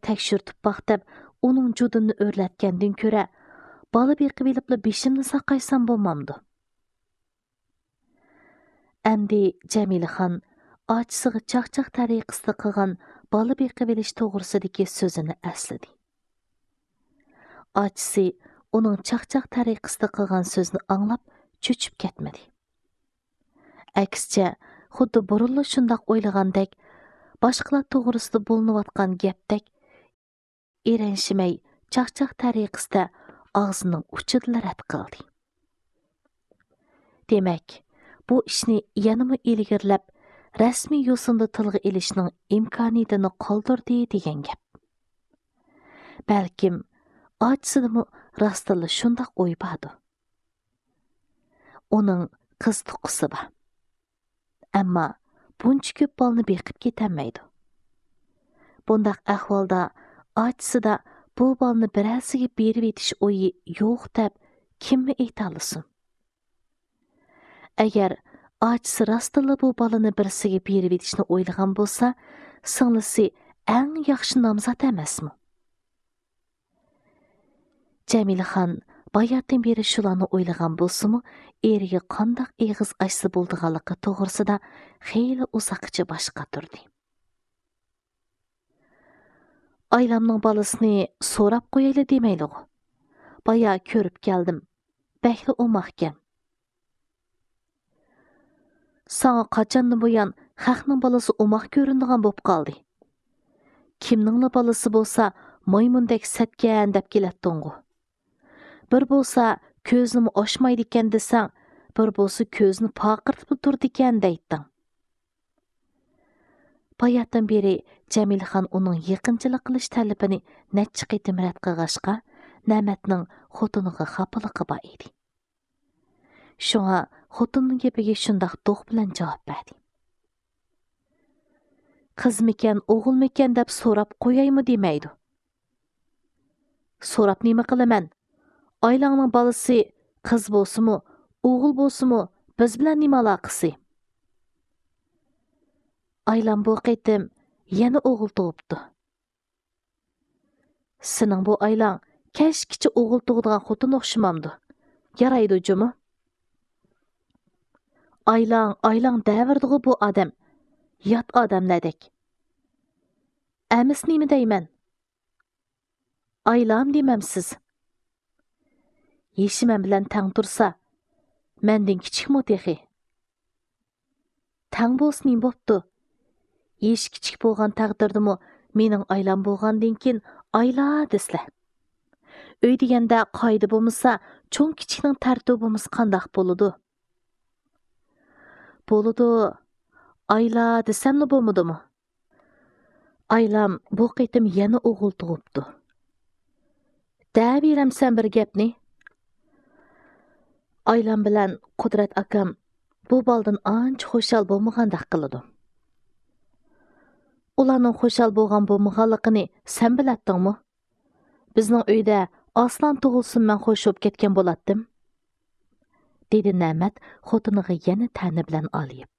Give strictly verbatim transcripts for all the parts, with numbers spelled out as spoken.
تەكشۈرتۈپ باق دەپ، ئۇنىڭ جۇدۇنىنى ئۆرلەتكەندىن كۆرە، بالا بېقىۋېلىپلا بېشىمنى ساقايسام بولمامدۇ؟ ئەمدى جەمىلىخان ئاچىسىغا چاقچاق تەرىقىسىدە قىلغان بالا بېقىۋېلىش توغرىسىدىكى سۆزىنى ئەسلىدى. ئاچىسى ئۇنىڭ چاقچاق تەرىقىسىدە قىلغان سۆزنى ئاڭلاپ چۆچۈپ كەتمىدى. ئەكسىچە، خۇددى بۇرۇنلا شۇنداق ئويلىغاندەك، باشقىلار توغرىسىدا بولۇنۇۋاتقان گەپتەك، ئېرەنشىمەي چاقچاق تەرىقىسىدە ئاغزىنىڭ ئۇچىدىلا رەت قىلدى. دېمەك، بۇ ئىشنى يەنىمۇ ئىلگىرىلەپ، رەسمىي يوسۇندا تىلغا ئېلىشنىڭ ئىمكانىيىتىنى قالدۇردى دېگەن گەپ. بەلكىم، ئاچىسىدىمۇ راستتىنلا شۇنداق ئوي باردۇ. ئۇنىڭ قىز تۇغقىسى بار. ئەمما بۇنچە كۆپ بالىنى بېقىپ كېتەلمەيدۇ. بۇنداق ئەھۋالدا ئاچىسىدا بۇ بالىنى بىرەرسىگە بېرىۋېتىش ئويى يوق دەپ كىممۇ ئېيتالىسۇن؟ ئەگەر ئاچىسى راستتىنلا بۇ بالىنى بىرسىگە بېرىۋېتىشنى ئويلىغان بولسا، سىڭلىسى ئەڭ ياخشى نامزات ئەمەسمۇ؟ جەمىلىخان باياتىن بېرى شۇلارنى ئويلىغان بولسىمۇ، ئېرىگە قانداق ئېغىز ئاچسا بولىدىغانلىقى توغرىسىدا خېلى ئۇزاققىچە باش قاتۇردى. ئايلامنىڭ بالىسىنى سوراپ قويايلى دېمەيلىغۇ. بايا كۆرۈپ كەلدىم. بەكلا ئوماقكەن. ساڭا قاچاندىن بۇيان خەقنىڭ بالىسى ئوماق كۆرۈنىدىغان بوپ قالدى؟ كىمنىڭلا بالىسى بولسا مايمۇندەك سەتكەن دەپ كېلەتتىڭغۇ. بىر بولسا كۆزىنىمۇ ئاچمايدىكەن دېسەڭ، بىر بولسا كۆزىنى پارقىرىتىپلا تۇرىدىكەن دەيتتىڭ. باياتىن بېرى جەمىلىخان ئۇنىڭ يېقىنچىلىق قىلىش تەلىپىنى نەچچە قېتىم رەت قىلغاچقا، نەمەتنىڭ خوتۇنىغا خاپىلىقى بار ئىدى. شۇڭا خوتۇننىڭ گېپىگە شۇنداق دوق بىلەن جاۋاب بەردى. قىزمىكەن، ئوغۇلمىكەن دەپ سوراپ قويايمۇ دېمەيدۇ. سوراپ نېمە قىلىمەن؟ ئايلاڭنىڭ بالىسى قىز بولسىمۇ، ئوغۇل بولسىمۇ، بىز بىلەن نېمە ئالاقىسى؟ ئايلام بۇ قېتىم يەنە ئوغۇل تۇغۇپتۇ. سېنىڭ بۇ ئايلاڭ كەچكىچە ئوغۇل تۇغىدىغان خوتۇن ئوخشىمامدۇ؟ يارايدۇ جۇمۇ. ئايلاڭ، ئايلاڭ دەۋېرىدىغۇ بۇ ئادەم. يات ئادەملەردەك. ئەمىسە نېمە دەيمەن؟ ئايلام دېمەمسىز؟ يېشى مەن بىلەن تەڭ تۇرسا، مەندىن كىچىكمۇ تېخى؟ تەڭ بولسا نېمە بوپتۇ؟ يېشى كىچىك بولغان تەقدىردىمۇ مېنىڭ ئايلام بولغاندىن كېيىن ئايلا دېسىلە. ئۆي دېگەندە قائىدە بولمىسا، چوڭ كىچىكنىڭ تەرتىپى بولمىسا قانداق بولىدۇ؟ بولىدۇ. ئايلا دېسەملا بولمىدىمۇ؟ ئايلام بۇ قېتىم يەنە ئوغۇل تۇغۇپتۇ. دەۋېرەمسەن بىر گەپنى؟ ئايلام بىلەن قۇدرەت ئاكام بۇ بالىدىن ئانچە خۇشال بولمىغاندەك قىلىدۇ. ئۇلارنىڭ خۇشال بولغان بولمىغانلىقىنى سەن بىلەتتىڭمۇ؟ بىزنىڭ ئۆيدە ئاسلان تۇغۇلسۇن مەن خوش بولۇپ كەتكەن بولاتتىم، دېدى نەمەت خوتۇنىغا يەنە تەنە بىلەن ئالىيىپ.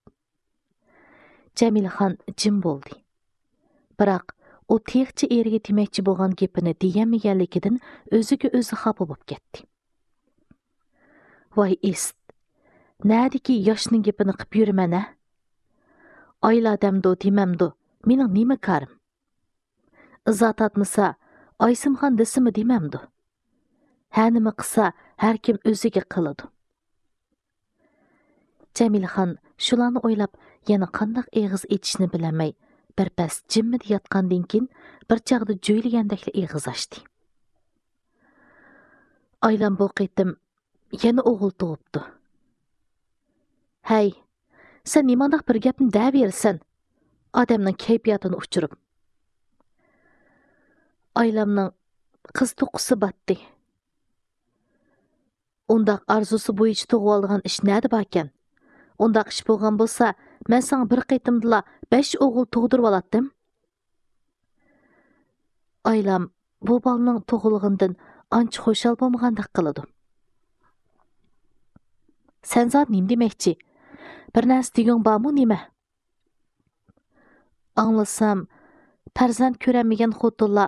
جەمىلىخان جىم بولدى. بىراق، ئۇ تېخىچە ئېرىگە دېمەكچى بولغان گېپىنى دېيەلمىگەنلىكىدىن ئۆزىگە ئۆزى خاپا بولۇپ كەتتى. ۋاي ئىسىت، نەدىكى ياشنىڭ گېپىنى قىپ يۈرىمەن ھە؟ ئايلا دەمدۇ دېمەمدۇ، مېنىڭ نېمە كارىم؟ ئىزا تارتمىسا، ئايسىمخان دېسىمۇ دېمەمدۇ؟ ھە نېمە قىلسا، ھەركىم ئۆزىگە قىلىدۇ. جەمىلىخان شۇلارنى ئويلاپ، يەنە قانداق ئېغىز ئېچىشنى بىلەلمەي، بىر پەس جىممىدە ياتقاندىن كېيىن، بىر چاغدا جۆيلىگەندەكلا ئېغىز ئاچتى. ئايلام بۇ قېتىم يەنە ئوغۇل تۇغۇپتۇ. ھەي، سەن نېمانداق بىر گەپنى دەۋېرىسەن؟ ئادەمنىڭ كەيپىياتىنى ئۇچۇرۇپ. ئايلامنىڭ قىز تۇغقۇسى باتتى. ئۇنداق ئارزۇسى بويىچە تۇغۇۋالىدىغان ئىش نەدە باركەن؟ ئۇنداق ئىش بولغان بولسا، مەن ساڭا بىر قېتىمدىلا بەش ئوغۇل تۇغدۇرۇۋالاتتىم. ئايلام بۇ بالىنىڭ تۇغۇلغىنىدىن ئانچە خۇشال بولمىغاندەك قىلىدۇ. سەن زادى نېمە دېمەكچى؟ بىر نەرسە دېگۈڭ بارمۇ نېمە؟ ئاڭلىسام، پەرزەنت كۆرەلمىگەن خوتۇنلار